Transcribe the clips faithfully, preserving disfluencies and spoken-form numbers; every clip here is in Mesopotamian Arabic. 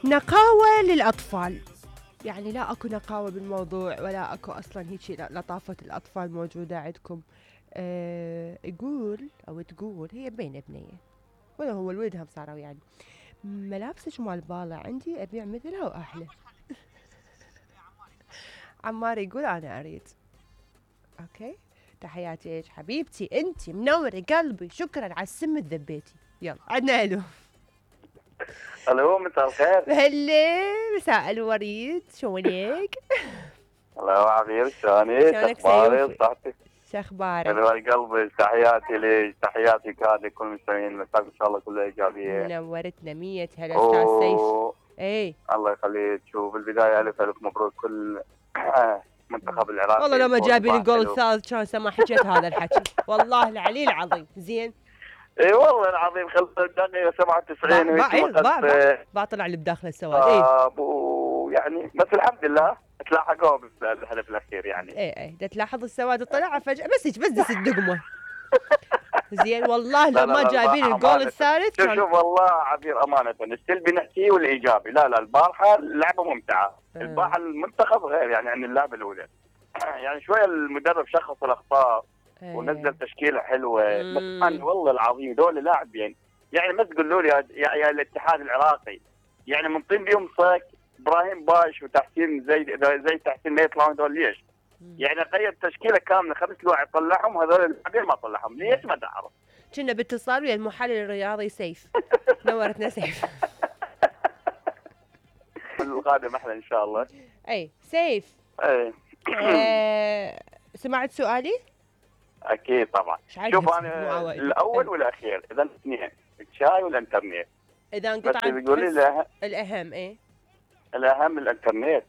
نقاوة للأطفال، يعني لا أكو نقاوة بالموضوع ولا أكو أصلا هيك لطافة الأطفال موجودة عندكم. أه يقول أو تقول هي بين بنية ولا هو الولدهم صاروا يعني ملابسك مال بالة عندي أبيع مثلها وأحلى. عمار يقول أنا أريد. أوكي تحياتي لك حبيبتي، أنت منورة قلبي، شكرا على السم الذبيتي. يلا عدنا ألو. الو مساء الخير. هلا مساء الوريد، شلونك؟ الله عبير شلونك؟ شلونك اخبارك؟ سيوفي؟ صحتك؟ شو اخبارك؟ حلوة قلبي، تحياتي لك، تحياتي كاد لكل المستمعين، مساك ان شاء الله كلها ايجابيه. منورتنا مية هلا استاذ سيف. اي الله يخليك. شوف بالبدايه الف الف مبروك كل منتخب العراق. والله لو ما جايبين الجول الثالث كان سما حكيت هذا الحكي، والله العلي العظيم. زين اي والله العظيم خلص الدقيقه سبعة وتسعين وهيك باطلع اللي بداخل السواد. اي ويعني بس الحمد لله تلاحقوا بالهدف الاخير يعني. اي اي دا تلاحظ السواد طلع فجاه بس هيك بس دس الدقمه. زين والله لو ما جايبين الجول الثالث كان شوف والله عبير امانه السلبي نحكيه والايجابي. لا لا البارحه اللعبه ممتعه. أه. البارحه المنتخب غير يعني عن اللعبه الاولى. يعني شويه المدرب شخص الاخطاء أه. ونزل تشكيله حلوه. مم. بس انا والله العظيم دول لاعبين يعني ما تقولوا لي يا, يا, يا الاتحاد العراقي يعني منطين بيهم صك ابراهيم باش وتحسين زي زي تحسين ما يطلعون دول ليش؟ يعني قيد تشكيله كامله خمس لاعب طلعهم هذول اللاعبين ما طلعهم ليش ما تعرف؟ كنا باتصال ويا المحلل الرياضي سيف. نورتنا سيف. القادم احلى ان شاء الله. اي سيف. اي آه سمعت سؤالي؟ اكيد طبعا. شوف انا الاول والاخير اذا اثنين الشاي والانترنت. اذا انقطعت تقولي لي الاهم ايه؟ الاهم الانترنت.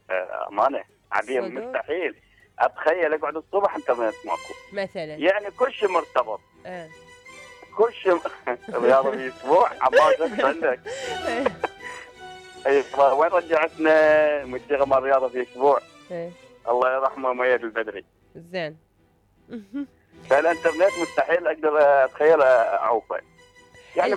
امانه عبير مستحيل اتخيل اقعد الصبح انترنت ماكو مثلا. يعني كل شيء مرتبط. اه كل شيء رياضه في اسبوع عمال شو عندك؟ اي وين رجعتنا منتخب الرياضه في اسبوع؟ ايه الله يرحمه مؤيد البدري. زين. فالانترنت مستحيل اقدر اتخيل اعوفه يعني.